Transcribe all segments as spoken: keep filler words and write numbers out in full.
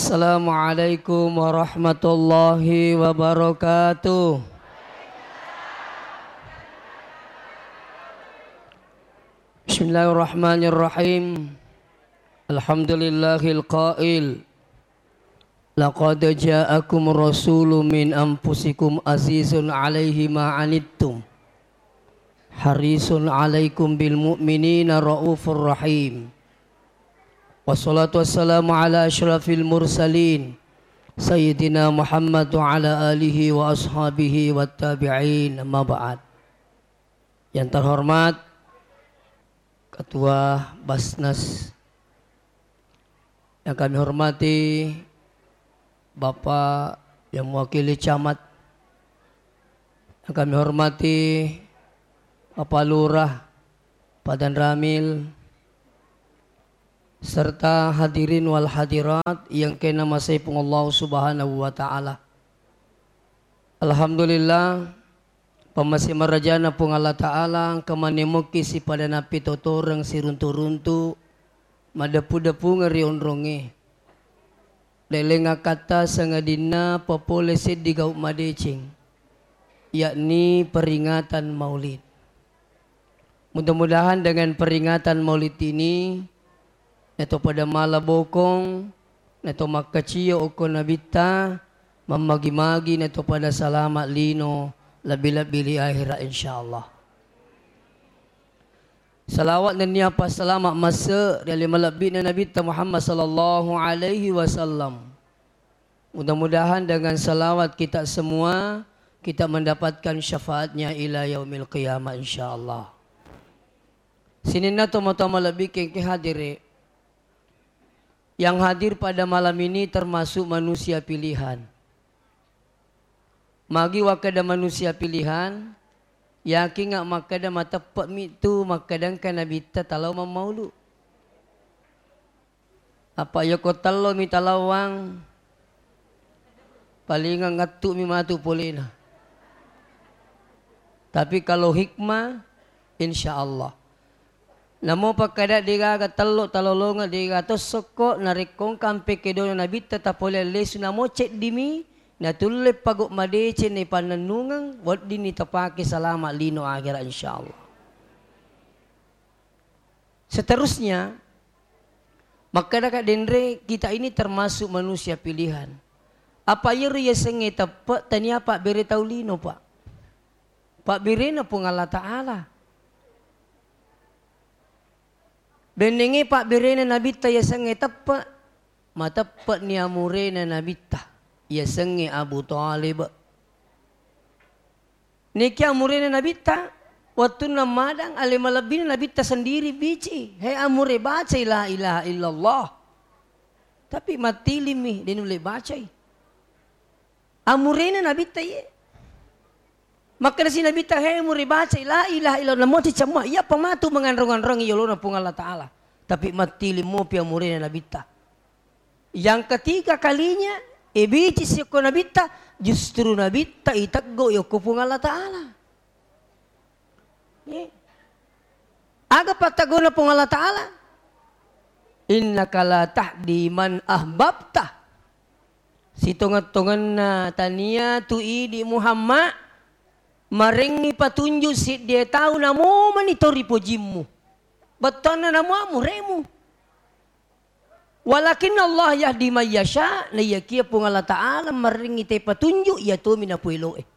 Assalamualaikum warahmatullahi wabarakatuh. Bismillahirrahmanirrahim. Alhamdulillahil qail, "Laqad ja'akum rasulun min anfusikum azizun alaihi ma anittum, harisun alaikum bil mu'minina raufur rahim." Wassalatu wassalamu ala asyrafil mursalin, Sayyidina Muhammad wa ala alihi wa ashabihi wa tabi'in, amma ba'd. Yang terhormat Ketua Basnas, yang kami hormati Bapak yang mewakili Camat, yang kami hormati Bapak Lurah, Pak Danramil, serta hadirin wal hadirat yang kena masai Puang Allah Subhanahu wa Ta'ala. Alhamdulillah, pamase marajana Puang Allah Ta'ala, engka manemoki sipada nappitotoreng siruntu-runtu, madeppu-deppungeng ri onrongnge. Leleng akkatta sangadinna papole seddi gau madeceng, yakni peringatan Maulid. Mudah-mudahan dengan peringatan Maulid ini, nato pada mala bokong, nato makkacio okko Nabitta, mammagi-magi nato pada salama lino, lebbi-lebbi ri akhirat, insyaallah. Salawat nennia passalama masse ri ale malebbi'na Nabitta Muhammad sallallahu alaihi wasallam. Mudah-mudahan dengan salawat kita semua, kita mendapatkan syafaatnya ila yaumil qiyamah, insyaallah. Sininna tomatoa malebbi kengke hadire. Yang hadir pada malam ini termasuk manusia pilihan. Magi wakkeda manusia pilihan, yakinga makkeda mateppe'mi tu makkeda engka Nabitta talao mammaulu. Apa yoko tellomi talawang, palingang ngattu'mi matu polena. Tapi kalau hikmah, insyaallah. Namo pakkada degaga tello talolongeng, degaga tossokko, narekko engka ampe kedona Nabitta tapole lesu, namo ceddimi, natulle pago madeceng naipannennungeng, weddinni tapake salama lino akhirat, insyaallah. Seterusnya, makkadaka denre, kita ini termasuk manusia pilihan. Apa iyaro yasengnge teppe, tania pabbere tau lino, Pak. Pabberena Puang Allah Ta'ala. Bennenge pabberena Nabitta yasengnge teppe, mateppe'ni amurena Nabitta yasengnge Abu Thalib. Niki amurena Nabitta, wettunna madang, ale malebbina Nabitta sendiri bici, "He amure, bacai la ilaha illallah." Tapi mattilimmi, de nulle bacai. Amurena Nabitta iye. Makkedasi Nabitta, "He amure, bacai la ilaha illallah." Namo cicamma, iyapa matu manganrong-anrongi yolona Puang Allah Ta'ala. Tapi mattilim mopi amurena Nabitta. Yang ketiga kalinya, ibici siokko Nabitta, justru Nabitta iteggo yokko Puang Allah Ta'ala. Ye. Aga pattagona Puang Allah Ta'ala? "Innaka la tahdi man ahbabta." Sitongeng-tongenna tania tu idi Muhammad, marengngi patunju siddie tau namomani to ripojimmu. Bettuanna namo amuremu. "Walakinnallaha yahdi may yasha," naiyakia Puang Allah Ta'ala marengngi te patunju, iya tomi napoeloe.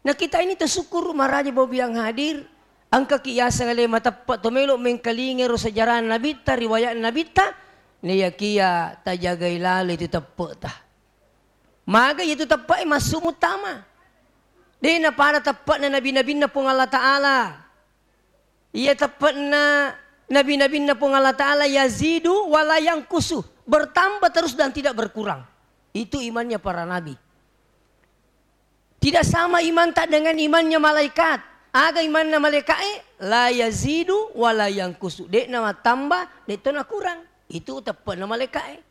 Nah, kita ini tersyukur, maraja babu yang hadir, engkaki yaseng ale mateppe to melo mengkalinga ro sejarah Nabitta, riwayat Nabitta, naiyakia tajagai lalo itu teppe'ta. Maga itu teppe'e massu muttama. De napada teppe'na nabi-nabinna Puang Allah Ta'ala. Iya teppe'na nabi-nabinna Puang Allah Ta'ala, yazidu wala yangkusu, bertambah terus dan tidak berkurang. Itu imannya para nabi. Tidak sama imanta dengan imannya malaikat. Aga imanna malaika'e? La yazidu wala yangkusu. De'na mattamba, de'to nakurang. Itu teppe'na malaika'e.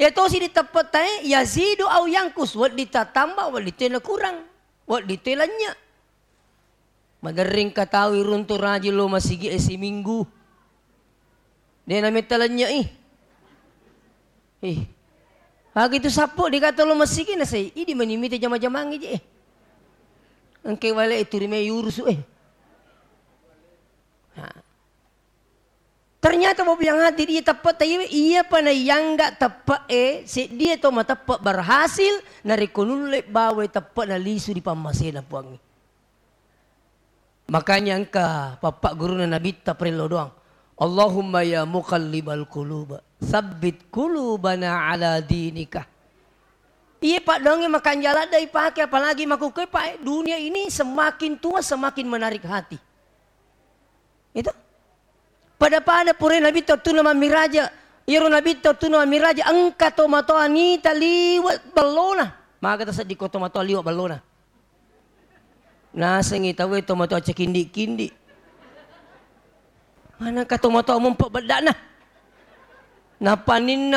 Iya tosi di teppe'tae, yazidu au yangkus, wedding tattamba, wedding to nakurang, wedding to lennye. Maderring katawi runtu rajin lo masigi'e siminggu. De nametta lennye'i. Eh. Aga itu sappo dikata lo masigi na sai, idi mani mita jama-jamangngi je, eh. Engke wale itu rime yurusu, eh. Nah. Ternyata mau bilang hati dia teppa'ta iwe, iya pa na iyangga teppe'e, seddie to mateppe' berhasil, narekko nulle bawai teppe'na lisu ri pammasena Puangnge. Makanya engka pappa guruna Nabitta parellau doang. Allahumma ya muqallibal qulub, sabbit qulubana ala dinika. Iya, Pak, doangnge makanja ladde ipake, apalagi makkukue, Pak, eh, dunia ini semakin tua semakin menarik hati. Itu. Pada-pada pura Nabitta wettunna mammiraja. Iyaro Nabitta wettunna mammiraja, engka tomatoa nita liwe' ballona. Maga tasedding ko tomatoa liwe' ballona. Nasengngi tauwe tomatoa cekindi-kindi. Manengka tomatoa mompo beddana. Napaninna